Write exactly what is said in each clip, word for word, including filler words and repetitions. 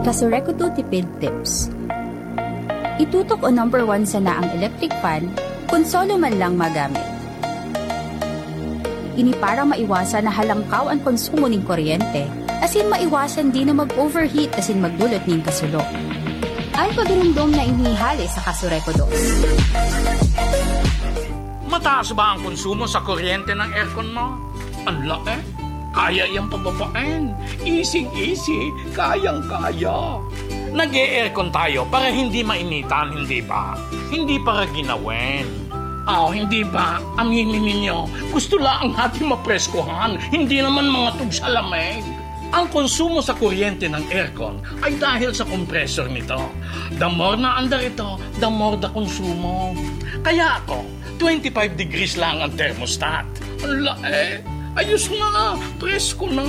Kasurekodo Tipid Tips. Itutok o number one sana ang electric fan kun solo man lang magamit. Ini para maiwasan na halangkaw an konsumo nin kuryente, asin maiwasan din na mag-overheat asin magdulot nin kasulo. An pagirumdom na ini hale sa Kasurekodo. Mataas ba ang konsumo sa kuryente ng aircon mo? Ang laki. Kaya iyang pababain. Easy-easy. Kayang-kaya. Nag-e-aircon tayo para hindi mainitan, hindi ba? Hindi para ginawin. Aw, hindi ba? Aminin ninyo, gusto lang natin mapreskohan, hindi naman mga tugsa lamig. Ang konsumo sa kuryente ng aircon ay dahil sa compressor nito. The more na andar ito, the more the konsumo. Kaya ako, twenty-five degrees lang ang thermostat. Ang lae! Ayos na! Presko na!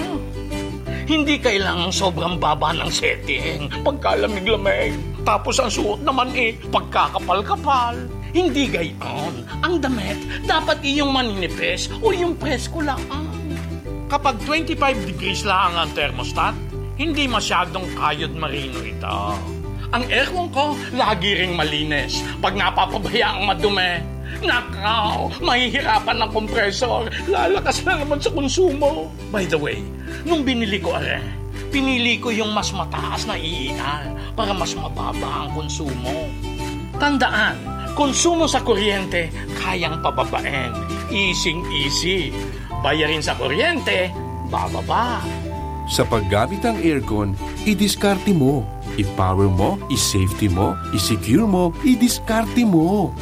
Hindi kailangan sobrang baba ng setting pagkalamig-lamig. Tapos ang suot naman eh, pagkakapal-kapal. Hindi gayon. Ang damit, dapat iyong maninipis o yung presko lang. Kapag twenty-five degrees lang ang thermostat, hindi masyadong kayod marino ito. Ang aircon ko, lagi ring malinis. Pag napapabaya ang madumi, nakaw, mahihirapan ang compressor. Lalakas na naman sa konsumo. By the way, nung binili ko are, pinili ko yung mas mataas na E E R para mas mababa ang konsumo. Tandaan, konsumo sa kuryente, kayang pababain. Easy-easy. Bayarin sa kuryente, bababa. Sa paggamit ng aircon, idiskarte mo. I-power mo, i-safety mo, i-secure mo, idiskarte mo.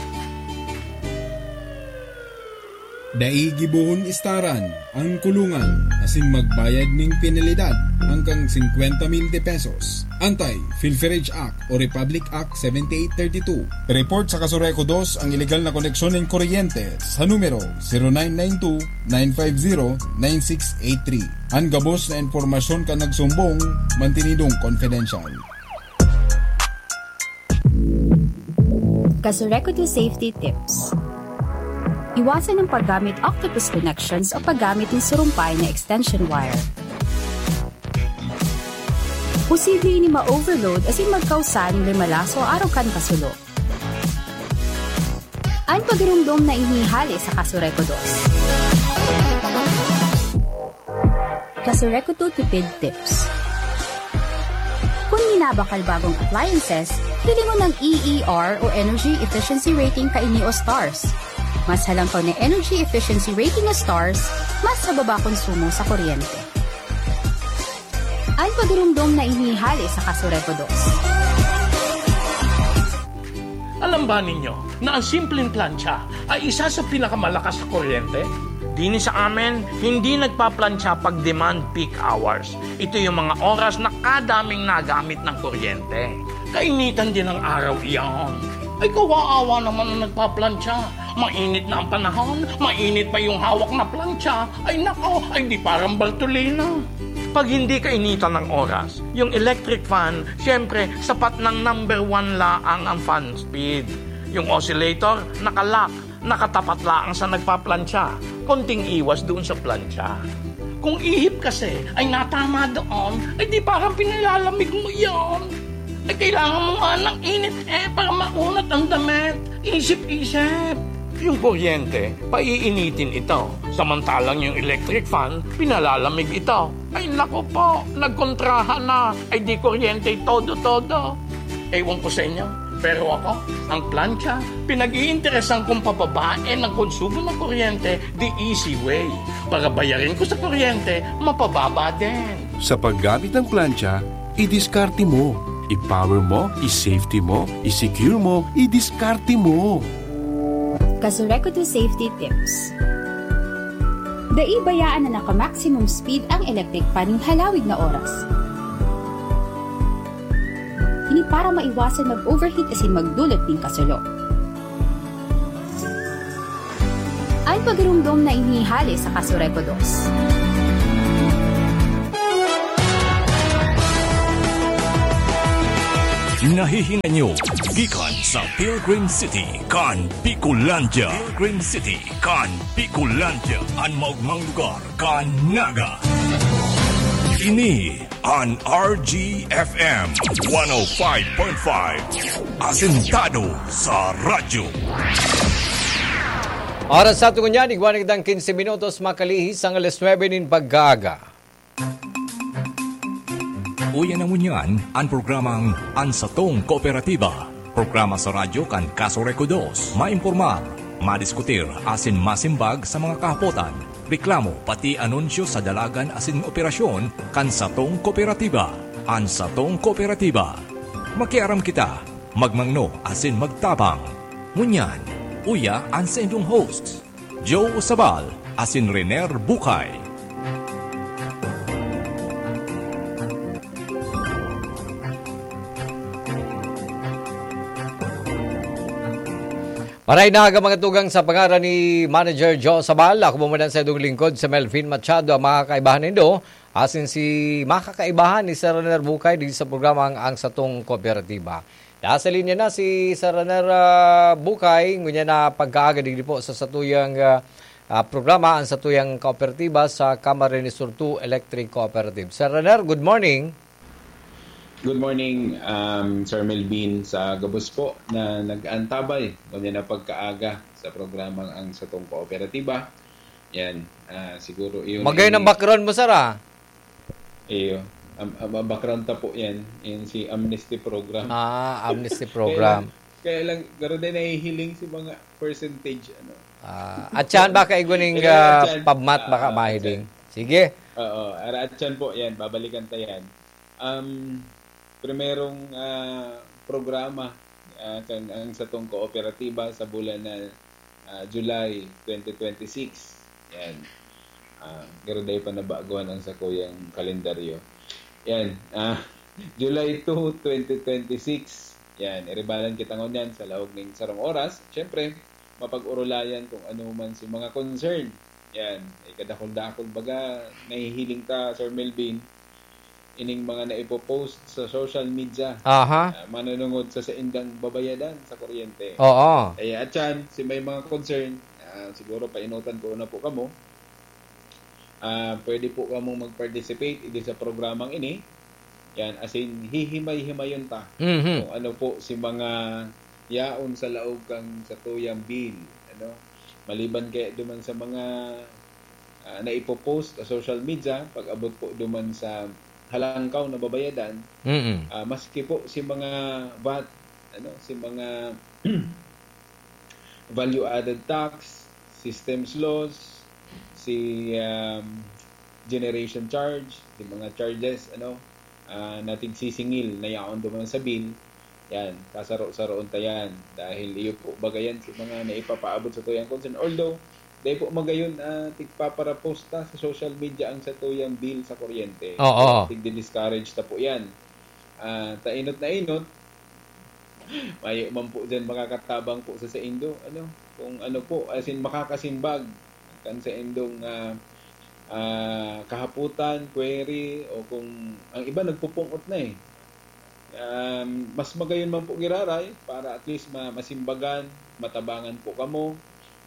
Dai gibohon istaran ang kulungan asin magbayad ning penalidad hanggang singkwenta mil de pesos. Antay, PhilFiReg Act o Republic Act seventy-eight thirty-two. Report sa Kasureco dos ang ilegal na koneksyon nin kuryente sa numero zero nine nine two, nine five zero, nine six eight three. An gabos na impormasyon kan nagsumbong, mantinidong confidential. Kasureco two Safety Tips. Iwasan ang paggamit octopus connections o paggamit ng surumpay na extension wire. Posible ini ma-overload asin magkausa nin limalaso arog kan kasulo. An pagirumdom na ini hale sa Kasureco dos. Kasureco two Tipid Tips. Kung minabakal bagong appliances, hilingon ang E E R o Energy Efficiency Rating kaini o stars. Mas halangkaw na energy efficiency rating o stars, mas mababa konsumo sa kuryente. An pagirumdom na ini hale sa Kasureco dos. Alam ba ninyo na ang simpleng plancha ay isa sa pinakamalakas sa kuryente? Dini sa amin, hindi nagpaplantsa pag demand peak hours. Ito yung mga oras na kadaming nagamit ng kuryente. Kainitan din ng araw iyan. Ay, kawaawa naman ang nagpaplantsa. Mainit na ang panahon, mainit pa yung hawak na plantsa. Ay nako, ay di parang Bartolina. Pag hindi kainitan ng oras, yung electric fan, siyempre, sapat ng number one laang ang fan speed. Yung oscillator, nakalock, nakatapat laang sa nagpaplantsa. Konting iwas doon sa plantsa. Kung ihip kasi ay natama doon, ay di parang pinilalamig mo yon. Ay kailangan mo nga ng init eh para maunat ang damit. Isip-isip. Yung kuryente, paiinitin ito. Samantalang yung electric fan, pinalalamig ito. Ay nako po, nagkontrahan na. Ay di kuryente todo-todo. Ewan ko sa inyo, pero ako, ang plancha, pinag-iinteresan kong pababain ang konsumo ng kuryente the easy way. Para bayarin ko sa kuryente, mapababa din. Sa paggamit ng plancha, idiskarte mo. I-power mo, i-safety mo, i-secure mo, idiskarte mo. Kasureco two Safety Tips. Dai bayaan na naka-maximum speed ang electric fan nin halawig na oras. Ini para maiwasan mag-overheat asin magdulot nin kasulo. An pagirumdom na ini hale sa Kasureco dos. Nahihinay nyo gikan sa Pilgrim City kan Bicolandia. Pilgrim City kan Bicolandia, an maogmang lugar kan Naga. Ini an R G F M one oh five point five, asentado sa radyo. Oras sa tungon niyan, igwa na kitang quince minutos makalihis ang alas nuebe nin pagkaaga. Uya na ngunyan an programang An Satong Kooperatiba. Programa sa radyo kan Kaso Rekodos. Maimpormar, madiskutir asin masimbag sa mga kahapotan, reklamo, pati anunsyo sa dalagan asin operasyon kan satong kooperatiba. An Satong Kooperatiba. Makiaram kita, magmangno asin magtabang. Ngunyan, uya an saindong host, Joe Sabal asin Rener Bukay. Maray na aga, mga tugang, sa pangaran ni Manager Joe Sabal, ako po muna sa idong lingkod, si Melvin Machado, ang mga kaibahan nindo. Asin si mga kakaibahan ni Sir Rener Bukay di sa programang Ang Satong Kooperatiba. Nasa linya na si Sir Rener, ah, Bukay, ngunyan na pagkaaga digdi po sa satuyang, ah, ah, programa, Ang Satuyang Kooperatiba sa Camarines Sur two Electric Cooperative. Sir Rener, good morning. Good morning, um, Sir Melvin, sa gabos po na nag-antabay ngunyan na pagkaaga sa programang Ang Satong Kooperatiba. Yan, ah, siguro iyon Magayon ang ay background mo, sir, ah. Iyo. Am-, am-, ang background ta po yan, yan si amnesty program. Ah, amnesty Kaya program. lang, kaya lang, garo din nahihiling si mga percentage, ano. Ah, at siyan baka igwa ning, Kaya ah, atyan, pabmat, baka ah, mahiling. atyan. Sige. Oo, ara atyan po yan, babalikan ta yan. Um, primerong, ah, programa, ah, kan, ang satong kooperatiba sa bulan na, ah, July twenty twenty-six. Yan. Ah, pero dai pa nabaguhan ang sakuyang kalendaryo. Yan. Ah, July two, twenty twenty-six. Yan. Iribalan kita ngunyan sa laog ning sarong oras. Siyempre, mapag-orolayan kung ano man si mga concern. Yan. Ikadakul-dakul baga, nahihiling ta, Sir Melvin, ining mga naipopost sa social media. Aha. Ah, manunungod sa saindang babayadan sa kuryente. Oo. Kaya atyan, si may mga concern, ah, siguro painutan ko na po kamo. Ah, pwede po kamong mag-participate idi sa programang ini. Yan, as in, hihimay-himayon ta Mhm. kung ano po si mga yaon sa laog kan satuyang bill, ano? Maliban kaya duman sa mga, ah, naipopost sa social media, pag-abot po duman sa halangkaw na babayadan, Mm. ah, maski po si mga vat, ano, si mga value added tax, systems loss, si, um, generation charge, si mga charges, ano, ah, na tigsisingil na yaon duman sa bill, yan, kasaro-saroon ta yan. Dahil iyo po, baga yan, si mga naipapaabot sa tuyang concern. Although, dai po magayon, ah, tigpaparapost ta sa social media ang satuyang bill sa kuryente. Oo. Tigdi-discourage ta po yan. Ah, ta inot na inot, mayo man po dyan makakatabang po sa saindo, ano, kung ano po, as in, makakasimbag kan saindong, ah, ah, kahapotan, query, o kung ang iba nagpupung-ot na eh. Um, mas magayon man po giraray para at least ma-, masimbagan, matabangan po kamo,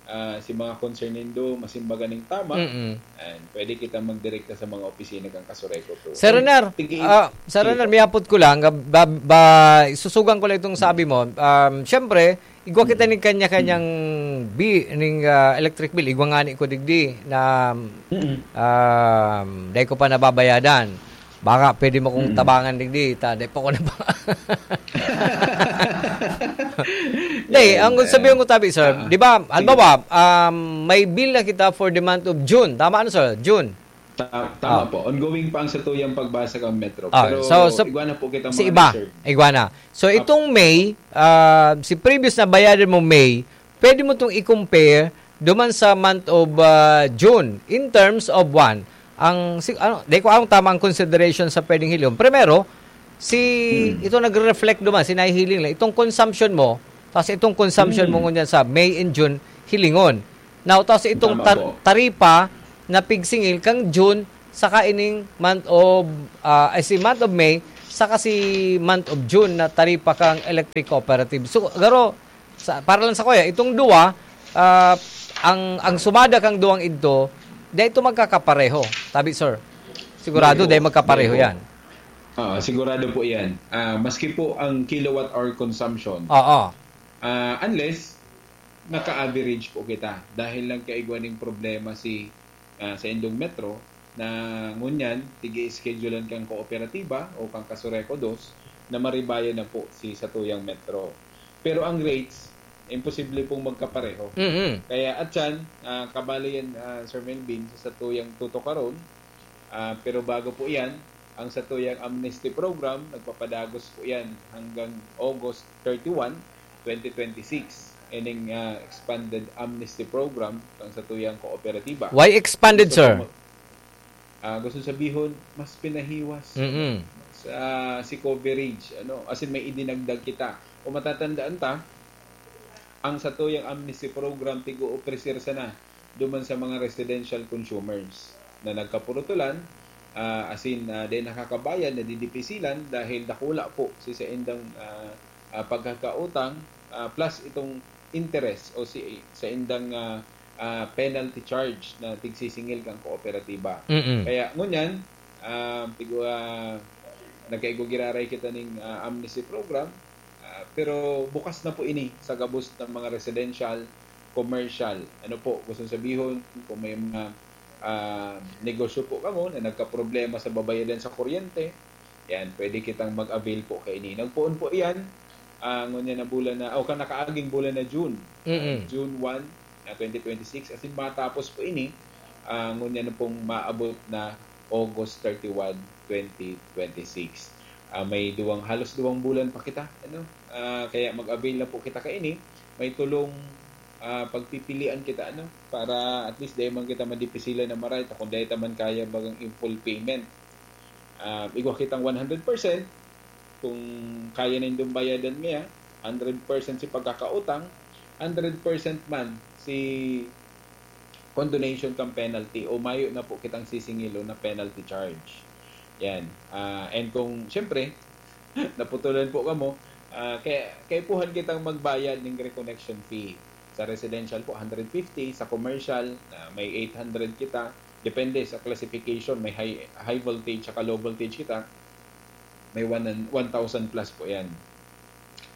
ah, si mga concern nindo, masimbagan ning tama, Mm-mm. and pwede kita magdirekta sa mga opisina kan Kasureco po. Sir Ay, Renar, tigi-, ah, Sir sige Renar, po. May hapot ko lang, ah, ba, ba, susugan ko lang itong sabi mo. Um, syempre, igwa kita ning kanya-kanyang bi-, ning, ah, electric bill. Igwa nga ni ko digdi na, Mm-mm. um, dai ko pa nababayadan. Baka pwede mo kong Mm. tabangan digdi, ta, dai pa ko naba-, Dai, Yan, ang eh. sabihin ko tabi, sir, Ah, di ba, sige. halimbawa, um, may bill na kita for the month of June. Tama, ano, sir? June. Ta-, tama Ah. po. Ongoing pa ang satuyang pagbasa kan Metro. Ah, Pero so, so, igwa na po kita sa mga iba, reserve. igwa na. So, Apo. itong May, ah, si previous na bayadan mo May, pwede mo itong i-compare duman sa month of, ah, June in terms of one. Ang, si, ano, di ko alam tama ang consideration sa pwedeng hiling. Primero, si, Hmm. ito nagre-reflect duman, si nahihiling lang. Itong consumption mo, tapos itong consumption mo Hmm. ngunyan sa May and June, hilingon. Now, tapos itong Tama tar-, po. taripa na pigsingil kang June, saka ining month of, ah, ay, si month of May, saka si month of June na taripa kang electric cooperative. So, garo, sa, para lang sa kuya, itong duwa, ah, ang, ang sumada kang duwang idto, dai ito magkakapareho. Tabi, sir. Sigurado, Oo, dahil magkapareho dahil po. yan. Ah, sigurado po yan. Ah, maski po ang kilowatt hour consumption. Oo. Ah, unless, naka-average po kita. Dahil lang kaigwa ning problema si ah, sa indong metro, na ngunyan, tig-i-schedulean kang kooperatiba o kang Kasureco dos na maribayan na po si satuyang metro. Pero ang rates, imposible pong magkapareho. Mm-mm. Kaya atyan, ah, kabalo yan, ah, Sir Melvin, sa satuyang tutukaron. Ah, pero bago po yan, ang satuyang amnesty program, nagpapadagos po yan hanggang August thirty-one, twenty twenty-six. Ining ah, expanded amnesty program kang satuyang kooperatiba. Why expanded, Gusto sir? ko ma- ah, gusto sabihon, mas pinahiwas Mm-mm. sa si coverage, ano, as in may idinagdag kita. Kung matatandaan ta, ang satuyang amnesty program tigo-opresir sana duman sa mga residential consumers na nagkapurutulan, ah, as in, ah, dahil nakakabayad, nadidipisilan dahil dakula po si saindang ah, ah, pagkakautang, ah, plus itong interest o si saindang ah, ah, penalty charge na tigsisingil kang kooperatiba. Mm-mm. Kaya ngunyan, ah, tigo, ah, nagkaigo giraray kita ning ah, amnesty program, ah, pero bukas na po ini sa gabos ng mga residential, commercial. Ano po, gusto sabihon, kung may mga ah, negosyo po kamo na nagkaproblema sa babayadan sa kuryente, yan, pwede kitang mag-avail po kaini. Nagpoon po yan, ah, ngunyan na bulan na, o kan nakaaging bulan na June. Mm-mm. June one, ah, twenty twenty-six. As in, matapos po ini, ah, ngunyan na pong maabot na August thirty-one, twenty twenty-six. Ah, may duwang, halos duwang bulan pa kita, ano? Ah, kaya mag-avail na po kita kaini. May tulong ah, pagpipilian kita, ano? Para at least dai man kita madipisilan na maray, ta kung dai ta man kaya bagang i-full payment. Ah, igwa kitang one hundred percent, kung kaya nindong bayadan niya, hundred percent si pagkakautang, hundred percent man si condonation kan penalty o mayo na po kitang sisingilon na penalty charge. Yan. Ah, and kung, siyempre, naputulan po kamo, ah, kaya, kaipuhan kitang magbayad ning reconnection fee. Sa residential po, hundred fifty. Sa commercial, ah, may eight hundred kita. Depende sa classification. May high, high voltage saka low voltage kita. May one, one thousand plus po yan.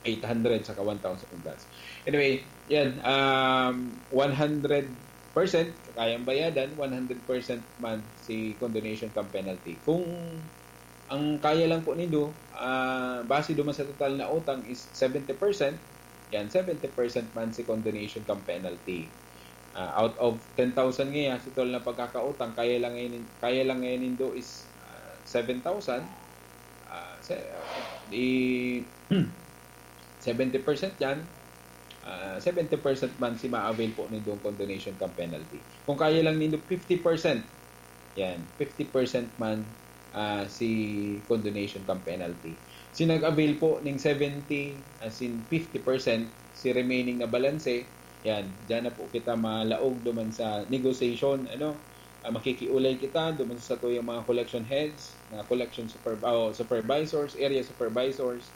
Eight hundred saka one thousand plus. Anyway, yan. Um, one hundred percent kayang bayadan, one hundred percent man si condonation kan penalty. Kung ang kaya lang po nindo, ah, base duman sa total na utang is seventy percent, yan, seventy percent man si condonation kan penalty. Ah, out of ten thousand ngaya, si total na pagkakautang, kaya lang ngayon, kaya lang ngayon nindo is ah, seven thousand. Ah, sa, di, seventy percent yan, ah, seventy percent man si ma-avail po nindong condonation kan penalty. Kung kaya lang nindo fifty percent, yan, fifty percent man ah, si condonation kan penalty. Si nag-avail po ning seventy, as in fifty percent, si remaining na balanse, yan, diyan na po kita malaog duman sa negotiation, ano, ah, makikiulay kita duman sa satuyang mga collection heads, mga collection super, oh, supervisors, area supervisors,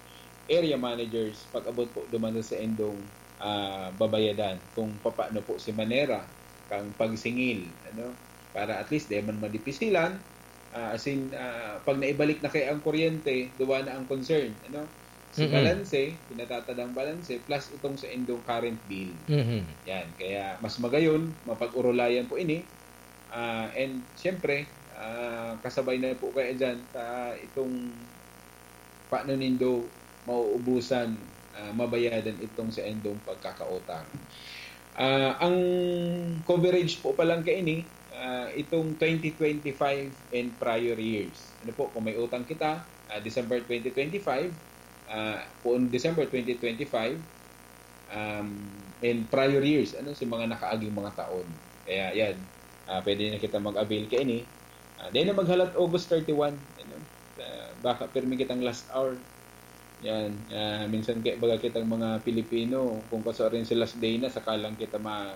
area managers, pag-abot po duman sa indong ah, babayadan kung papaano po si manera kang pagsingil, ano, para at least di man madipisilan, ah, as in, ah, pag naibalik na kay ang kuryente, duwa na ang concern, ano, si Mm-mm. balanse, pinatatadang balanse, plus itong sa indong current bill. Mhm. Yan, kaya mas magayon, mapag-urulayan po ini. Ah, and siyempre, ah, kasabay na po kaya dyan sa itong paano nindo mauubusan, ah, mabayadan itong sa indong pagkakautang. Ah, ang coverage po palang kaini, ah, itong twenty twenty-five and prior years. Ano po, kung may utang kita, ah, December twenty twenty-five, ah, kung December twenty twenty-five, um, and prior years, ano, sa mga nakaaging mga taon. Kaya yan, ah, pwede na kita mag-avail kaini. Ah, dahil na maghalat August thirty-one, ano, ah, baka pirmi kitang last hour. Yan, ah, minsan kaya baga kitang mga Pilipino, kung kaso rin sa last day na, saka lang kita ma,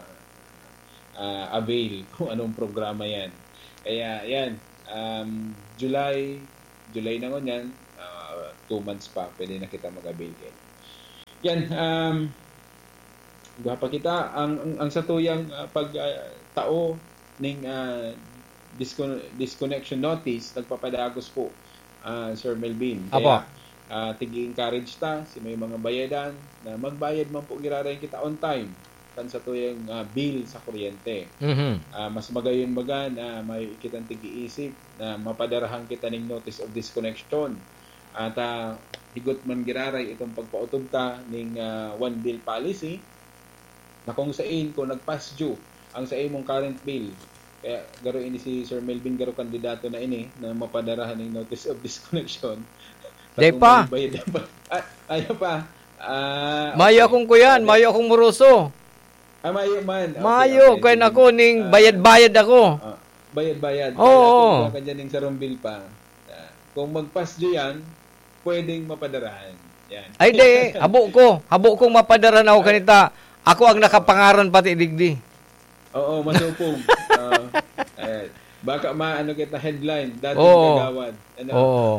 ah, avail kung anong programa yan. Kaya yan, um, July, July na ngunyan, ah, two months pa, pwede na kita mag-avail kaini. Yan, um, gwapa kita, ang, ang, ang satuyang ah, pag ah, tao ning ah, discon-, disconnection notice nagpapadagos po, ah, Sir Melvin. Apo. Kaya, ah, tig-encourage ta si may mga bayadan na magbayad man po giraray kita on time kan satuyang, ah, bill sa kuryente. Mhm. Ah, mas magayon baga na may kitang tig-iisip na mapadarahan kita ning notice of disconnection. At, ah, higot man giraray itong pagpaotob ta ning, ah, one bill policy, na kung sain, kung nag-past due ang sa imong current bill, kaya garo ini si Sir Melvin, garo kandidato na ini na mapadarahan ning notice of disconnection. Dai pa. May bayad pa. Ah, ayaw pa. Ah, Mayo okay. akong kuyan, Pwede. mayo akong moroso. Ah, mayo man. Okay, Mayo, okay. kaya Sige. nako ning Ah, bayad-bayad ako. ah, bayad-bayad. Oo. Kaya kung iba ka dyan ning sarong bill pa, ah, kung mag-past due yan, pwedeng mapadarahan. Yan. Ay, di. Habo ko. Habo kong mapadarahan ako Ay. kanita. Ako ang nakapangaran pati digdi. Oo, masupog. Oo. Eh, baka maano kita headline, dating Oo. kagawad. Ano? Oo.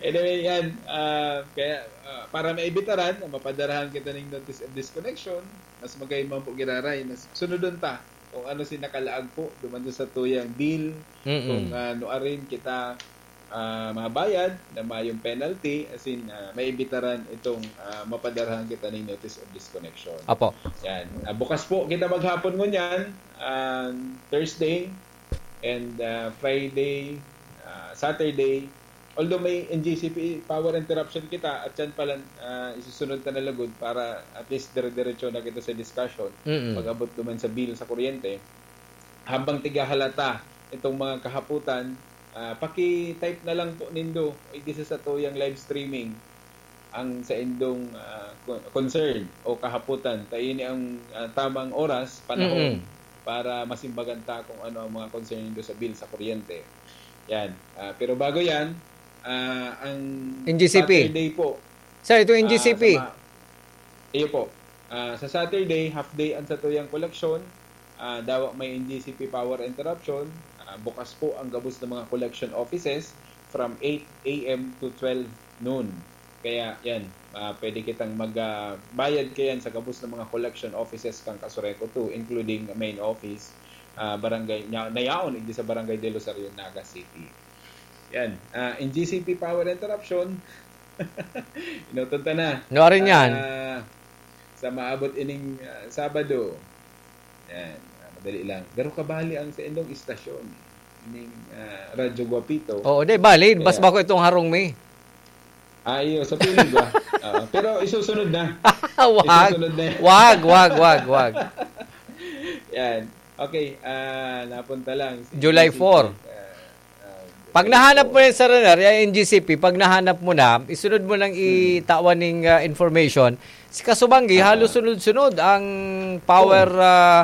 Anyway, yan. Ah, kaya, ah, para maibitaran, mapadarahan kita ning notice of disconnection, mas magayon man po giraray, mas sunodon ta kung ano si nakalaag po duman sa satuyang bill, Mm-mm. kung, ah, nuarin kita, ah, mabayad na mayong penalty, as in, ah, maibitaran itong, ah, mapadarahan kita ning notice of disconnection. Apo. Yan. Ah, bukas po kita maghapon ngunyan, ah, Thursday and, ah, Friday, ah, Saturday. Although may N G C P power interruption kita, at yan pala, ah, isusunod ta na lugod para at least dire-diretso na kita sa discussion Mm-mm. pag-abot duman sa bill sa kuryente. Habang tigahalata itong mga kahaputan, ah, paki-type na lang po nindo, igdi sa satuyang live streaming, ang saindong, ah, con-, concern o kahaputan. Ta ini ang, ah, tamang oras, panahon Mm-mm. para masimbagan ta kung ano ang mga concern nindo sa bill sa kuryente. Yan. Ah, pero bago yan, ah, ang N G C P. Saturday po, Sir, itong ah, N G C P. sa ma-, iyo po. Ah, sa Saturday, half day ang satuyang koleksyon. Ah, dawa may N G C P power interruption. Ah, bukas po ang gabos ng mga collection offices from eight A M to twelve noon. Kaya yan, ah, pwede kitang mag, ah, bayad kayan sa gabos ng mga collection offices kan Casureco two, including main office, ah, barangay, na, nayaon, hindi sa Barangay del Rosario, Naga City. Yan. Ah, N G C P power interruption. Inuton ta na. Nuarin yan? Ah, sa maabot ining, ah, Sabado. Yan. Ah, madali lang. Garo kabali ang sa indong istasyon. Ining, ah, Radyo Guapito. Oo, di, bali. Kaya Bas bako itong harong mi. Ah, iyo. Sa piling ba? Oo. Pero isusunod na. Wag. Isusunod na yan. Wag, wag, wag, wag. Yan. Okay. Ah, napunta lang. Si July four. Ah, ah, Pag July nahanap four. mo yan, Sir Renar, yung N G C P, pag nahanap mo na, isunod mo nang Hmm. itawan ning, ah, information. Si Kasubanggi, Aha. halos sunod-sunod ang power, Oo. ah,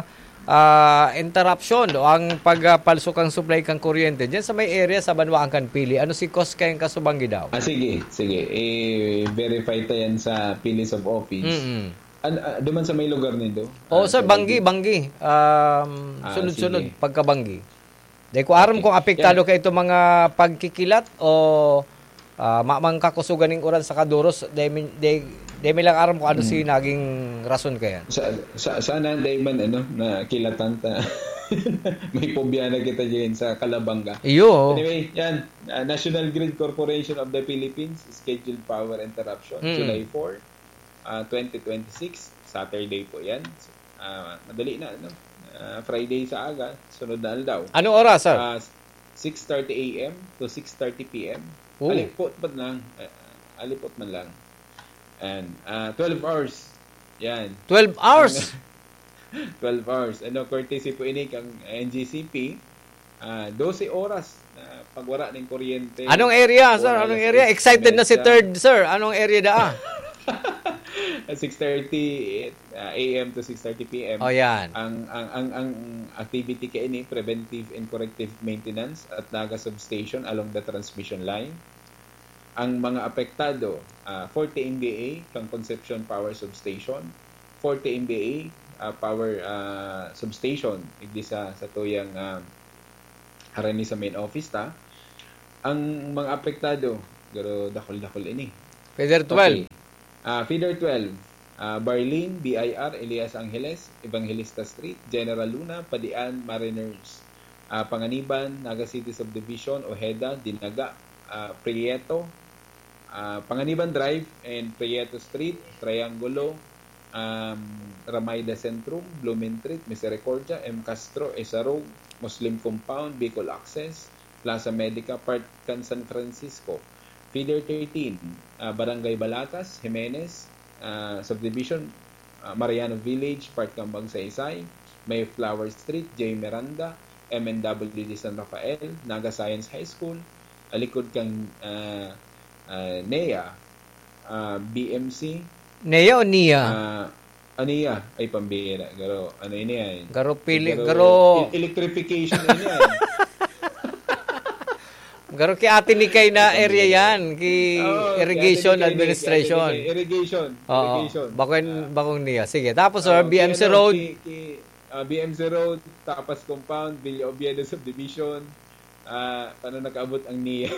ah, interruption o ang pagpalsok ang supply kang kuryente. Diyan sa may area sa banwaan kan Pili. Ano si cause kayang Kasubanggi daw? Ah, sige, sige. I-verify ta yan sa P L I S of office. Mm-mm. An-, ah, duman sa may lugar nindo? Oo, Ah, sir, sa Banggi, Banggi. Banggi. Um, Ah, sunod-sunod, sige. pagka Banggi. Di ko aram Okay. kung apektado Yan. kayo itong mga pagkikilat o, ah, ma-, mga kakusugan ng uran sa kaduros. Di mi, di, di mi lang aram kung ano Hmm. si naging rason kaya. Sa, sa, sana di man, ano, na kilatan ta. May pobya na kita dyan sa Calabanga. Iyo. Anyway, yan. Ah, National Grid Corporation of the Philippines, scheduled power interruption, Mm. July four, ah, twenty twenty-six, Saturday po yan. Ah, madali na, no? Ah, Friday sa aga, sunod na aldaw. Anong oras, sir? Ah, six thirty A M to six thirty P M. Oh. Alipot man lang. Ah, alipot man lang. And, ah, twelve hours. Yan. Twelve hours? Ang, twelve hours. Ano, courtesy po ini kang N G C P. Ah, dose oras na pagwara ning kuryente. Anong area, sir? Wala Anong na area? sa Excited na si Mesa. Third, sir. Anong area daa? Six thirty, ah, A M to six thirty P M. Oh, yan. Ang, ang, ang, ang activity kaini, preventive and corrective maintenance at Naga Substation along the transmission line. Ang mga apektado, ah, forty M V A kang Concepcion Power Substation, forty M V A, ah, power, ah, substation, igdi sa, sa tuyang, ah, harani sa main office ta. Ang mga apektado, pero dakul-dakul ini. Feeder twelve. Okay. Ah, feeder twelve. ah, Barlin, B I R, Elias Angeles, Evangelista Street, General Luna, Padian, Mariners, ah, Panganiban, Naga City Subdivision, Ojeda, Dinaga, ah, Prieto, ah, Panganiban Drive and Prieto Street, Triangulo, um, Ramayda Centrum, Blumentritt, Misericordia, M Castro, Esarog, Muslim Compound, Bicol Access, Plaza Medica, part kan San Francisco. Feeder thirteen, ah, Barangay Balatas, Jimenez, ah, Subdivision, ah, Mariano Village, part kan Magsaysay, Mayflower Street, J Miranda, M N W D San Rafael, Naga Science High School, alikod kan, ah, ah, NEA, ah, B M C, NEA o NIA? Ah, ah, NIA, ay pambira, garo, ano ini yan? Garo pili, Garo, garo. e-, electrification ini yan. Garo ki Ate Nikay na Ay, area pambira. yan, ki Oo, Irrigation kaya tinigay ni, kaya Administration. tinigay. Irrigation, Oo, irrigation. bakong, Ah. bakong NIA. Sige, tapos, sir, Oo, B M C kaya Road. ki, ki, ah, B M C Road, Tapas Compound, Villa Oviedo Subdivision. Ah, paano nakaabot ang NIA?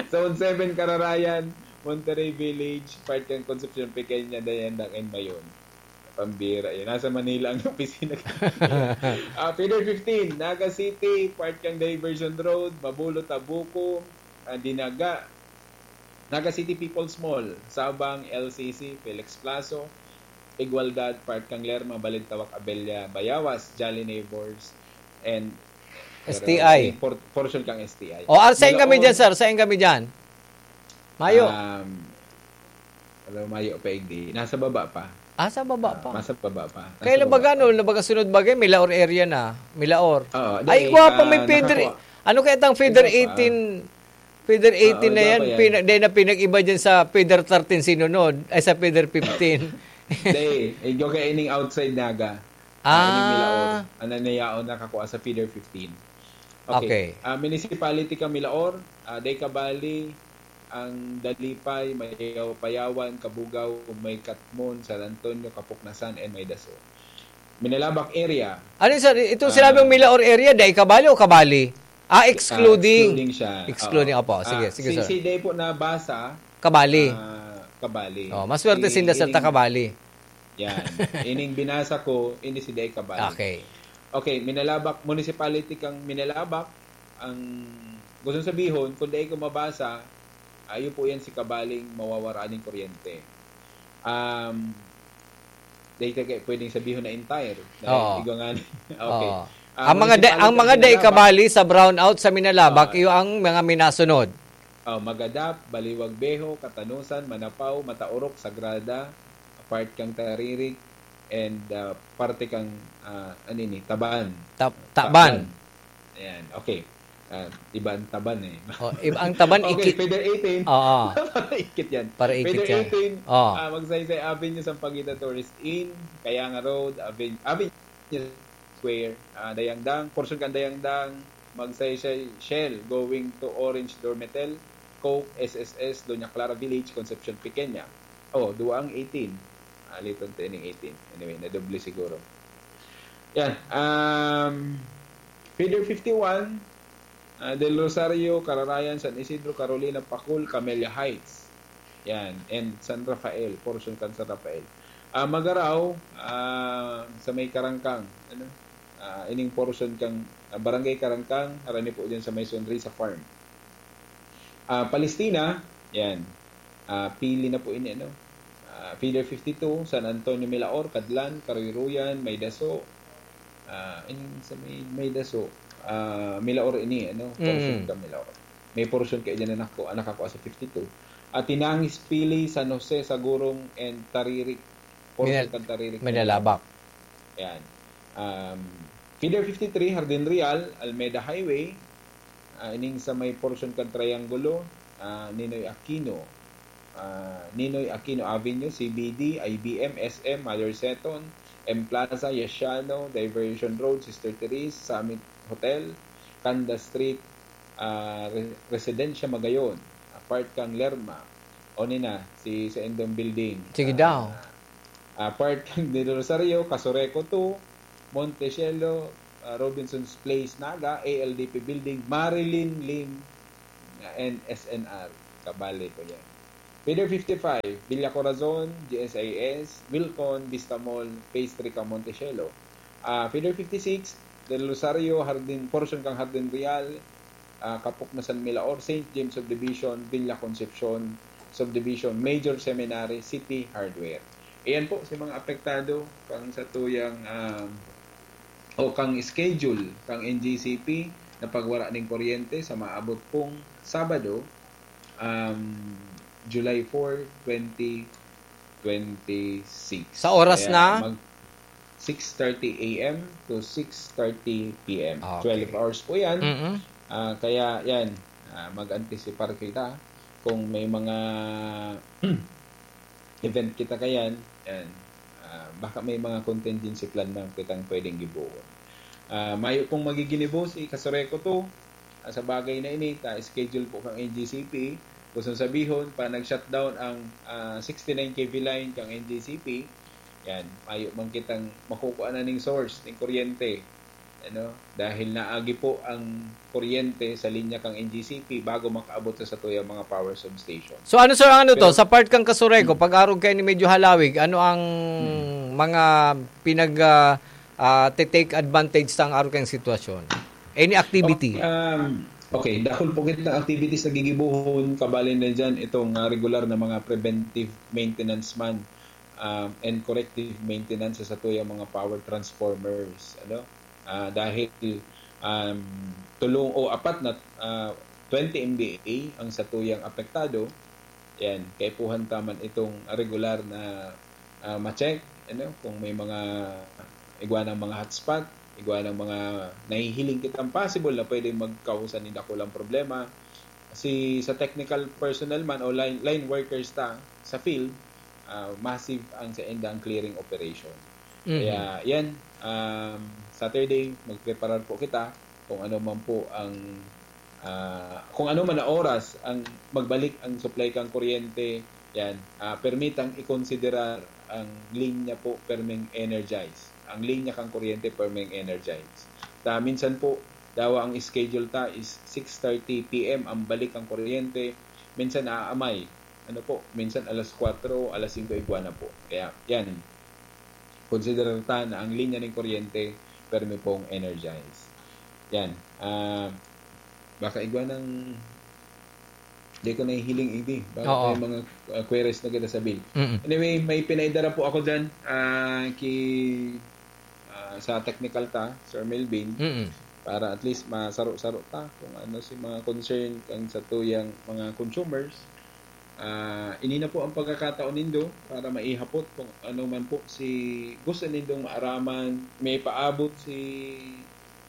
Zone seven, Kararayan, Monterrey Village, part kan Concepcion Pequeña, Dayandang and Mayon. Pambira yun. Nasa Manila ang opisina. Ah, Feeder fifteen, Naga City, part kan Diversion Road, Mabulo, Tabuco, ah, Dinaga, Naga City People's Mall, Sabang, L C C, Felix Plazo, Igualdad, part kan Lerma, Balintawak, Abella, Bayawas, Jolly Neighbors, and S T I. Por-, portion kang S T I. O, ar-, saan kami Milaor. dyan, sir? Saan kami dyan? Mayo. Um, alam, mayo pa, hindi. Nasa baba pa. Ah, sa baba Ah, pa. nasa baba pa. Nasa Kaya baba labaga, pa. no, labaga sunod bagay, Milaor area na. Milaor. Oo, Ay, di, igwa pa, may ah, feeder. nakakuha. Ano kaya tang feeder Igwa pa. eighteen? Feeder Oo, eighteen na igwa yan. pa yan. Pina-, di na pinag-iba dyan sa feeder thirteen sinunod. Ay, sa feeder fifteen. Di, igwa kaya ining outside Naga. Ah, ining Milaor. Ah. Ang nanayaon nakakuha sa feeder fifteen. Okay. Okay. Ah, municipality kan Milaor, ah, Dai Kabali, ang Dalipay, Mayaw-, Payawan, Cabugao, May Catmon, San Antonio, Capocnasan, and May Daso. Minalabac area. Ano, sir? Itong Ah. sinabing Milaor area, Dai Kabali o Kabali? Ah, Ah, excluding. excluding siya. Excluding, Oo. opo. Sige, Ah, sige, si, sir. si Dai po nabasa, Kabali. ah, Kabali. Oh, maswerte Si sinda, sir, ta ining Kabali. Yan. Ining binasa ko, ini si Dai Kabali. Okay. Okay, Minalabac, municipality kang Minalabac, ang gusto sabihon, kung dai ko mabasa, ayo po yan si Kabaling mawawara ning kuryente. Um, dai ka kaya pwedeng sabihon na entire. Dahil Oo. igwa nga ni-, okay. Oo. Ah, Ang mga da-, municipality ang ng mga dai Minalabac. Kabali sa brownout sa Minalabac, Oo. iyo ang mga minasunod. Oh, Magadap, Baliwag Beho, Catanosan, Manapao, Mataorok, Sagrada, part kang Taririk, and, ah, parte kang, ah, ano ini, Taban. Tab-, Taban. Taban. Ayan, okay. Ah, iba ang Taban eh. Oh, iba ang Taban, Okay, ikit. Feeder eighteen. Oo. Para ikit yan. Para ikit Feeder yan. eighteen, Oh. ah, Magsaysay Avenue, Sampaguita Tourist Inn, Kayanga Road, Aven-, Avenue Square, ah, Dayangdang, portion kan Dayangdang, Magsaysay Shell, going to Orange Dormetel, Coke, S S S, Doña Clara Village, Concepcion Pequeña. Oh, duwa ang eighteen. Ah, liton to ining eighteen. Anyway, nadoble siguro. Yan. Um, Feeder fifty-one, ah, Del Rosario, Kararayan, San Isidro, Carolina, Pacul, Camellia Heights. Yan. And San Rafael, portion kan San Rafael. Ah, Magarao, ah, sa may Karangkang, ano? Ah, ining portion kang, ah, Barangay Karangkang, harani po dyan sa may Sonrisa Farm. Ah, Palestina, yan. Ah, pili na po ini, ano? Ah, Feeder fifty-two, San Antonio, Milaor, Cadlan, Karuy-ruyan, May Daso. Ah, ining sa may, May Daso. Ah, Milaor ini, ano? Portion Mm. ka Milaor. May portion kayo dyan na nako-, nakakuha sa fifty-two. At Tinangis, Pili, San Jose, Sagurong, and Taririk. Portion Minal-, kan Taririk. Minalabac. Yan. Um, Feeder fifty-three, Jardin Real, Almeda Highway, ah, ining sa may portion kan Triangulo, ah, Ninoy Aquino, ah, Ninoy Aquino Avenue, C B D, I B M, S M, Mother Seton, M Plaza, Yasiano, Diversion Road, Sister Therese, Summit Hotel, Canda Street, ah, Re-, Residencia Magayon, ah, part kang Lerma, o ni na, si, sa Indong Building. Sige Ah, daw. ah, part kang Del Rosario, Casureco two, Montecielo, ah, Robinson's Place, Naga, A L D P Building, Marilyn Lane, ah, and S N R. Kabali po yan. Feeder fifty-five, Villa Corazon, G S I S, Wilcon, Vista Mall, Phase three kan Montecielo. Ah, Feeder fifty-six, Del Rosario, Hardin, portion kan Hardin Real, ah, Kapok na San Milaor, Saint James Subdivision, Villa Concepcion Subdivision, Major Seminary, City Hardware. Iyan po si mga apektado kan satuyang, um, o kang schedule kang N G C P na pagwara ning kuryente sa maabot pong Sabado, um, July four, twenty twenty-six. Sa oras Kaya na? mag-, six thirty A M to six thirty P M. Okay. Twelve hours po yan. Mm-mm. Ah, kaya yan, ah, mag-antisipar kita kung may mga event kita kayan, yan. Ah, baka may mga contingency plan na kitang pwedeng gibohon. Ah, mayo pong magiginibo si Kasureco two, ah, sa bagay na ini, ta schedule po kang N G C P. Gusto sabihon, pa nag-shutdown ang, ah, sixty-nine K V line kang N G C P, yan, mayo man kitang makukuha na ning source, ning kuryente. Ano? Dahil naagi po ang kuryente sa linya kang N G C P bago makaabot sa satuyang mga power substation. So ano, sir, ang ano to? Pero Sa part kang Kasureco, Hmm. pag-arog kayo ni medyo halawig, ano ang Hmm. mga pinag, ah, ah, te-take advantage sa ang arog kayong sitwasyon? Any activity? Okay, um, okay, dakul po kita activities na gigibohon, kabali na dyan itong, ah, regular na mga preventive maintenance man, um, and corrective maintenance sa satuyang mga power transformers, ano? Ah, dahil, um, tulong o apat na, ah, twenty M V A ang satuyang apektado, yan, kaipuhan ta man itong regular na, ah, ma-check, ano, kung may mga igwa ng mga hotspot, igwa ng mga nahihiling kitang possible na pwedeng magkausa nin dakulang problema. Si, sa technical personnel man o line, line workers ta sa field, ah, massive ang sa indang clearing operation. Mhm. Kaya, yan, um, Saturday, magpreparar po kita kung ano man po ang, ah, kung ano man na oras ang magbalik ang supply kang kuryente, yan, ah, permitang ikonsiderar ang linya po perming energize. Ang linya kang kuryente perming energize. Ta, minsan po, dawa ang schedule ta is six thirty P M ang balik ang kuryente. Minsan naaamay. Ano po, minsan alas kwatro, alas singko igwa na po. Kaya, yan. Konsiderar ta na ang linya ning kuryente permi pong energize. Yan. Ah, baka igwa ng, di ko nahihiling, Igdi. Baka Oo. may mga, ah, queries na kita sa bill. Mm-mm. Anyway, may pinaidara po ako dyan, ah, ki, ah, sa technical ta, Sir Melvin, Mm-mm. para at least masaro-saro ta kung ano si mga concern kang satuyang mga consumers. Ah, ini na po ang pagkakataon nindo para maihapot kung ano man po si gusto nindong maaraman, may paabot si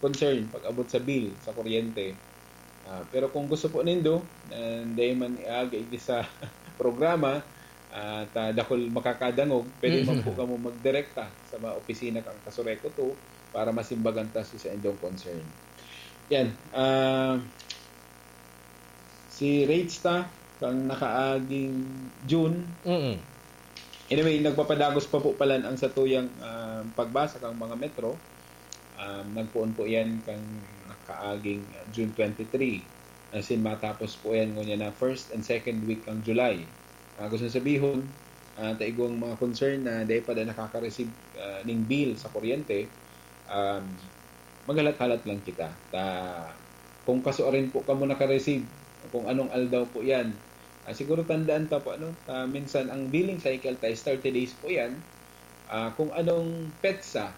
concern pag-abot sa bill sa kuryente. Ah, pero kung gusto po nindo, na dai man iagi sa programa, at, ah, dakul makakadangog, pwede man po Mhm. kamo magdirekta sa mga opisina kang Kasureco two para masimbagan ta si saindong concern. Yan, ah, si rates ta kang nakaaging June. Mm. Anyway, nagpapadagos pa po palan ang satuyang, ah, pagbasa kang mga metro. Um, nagpoon po yan kang nakaaging, ah, June twenty-three. As in, matapos po yan ngunyan na first and second week kang July. Ah, gusto sabihon, ah, ta igwang mga concern na dai pa da nakaka-receive, ah, ning bill sa kuryente, um, maghalat-halat lang kita. Ta, kung kasuarin po kamo naka-receive, kung anong aldaw po yan, ah, siguro tandaan ta po, ano, ah, minsan ang billing cycle ta is thirty days po yan. Ah, kung anong petsa,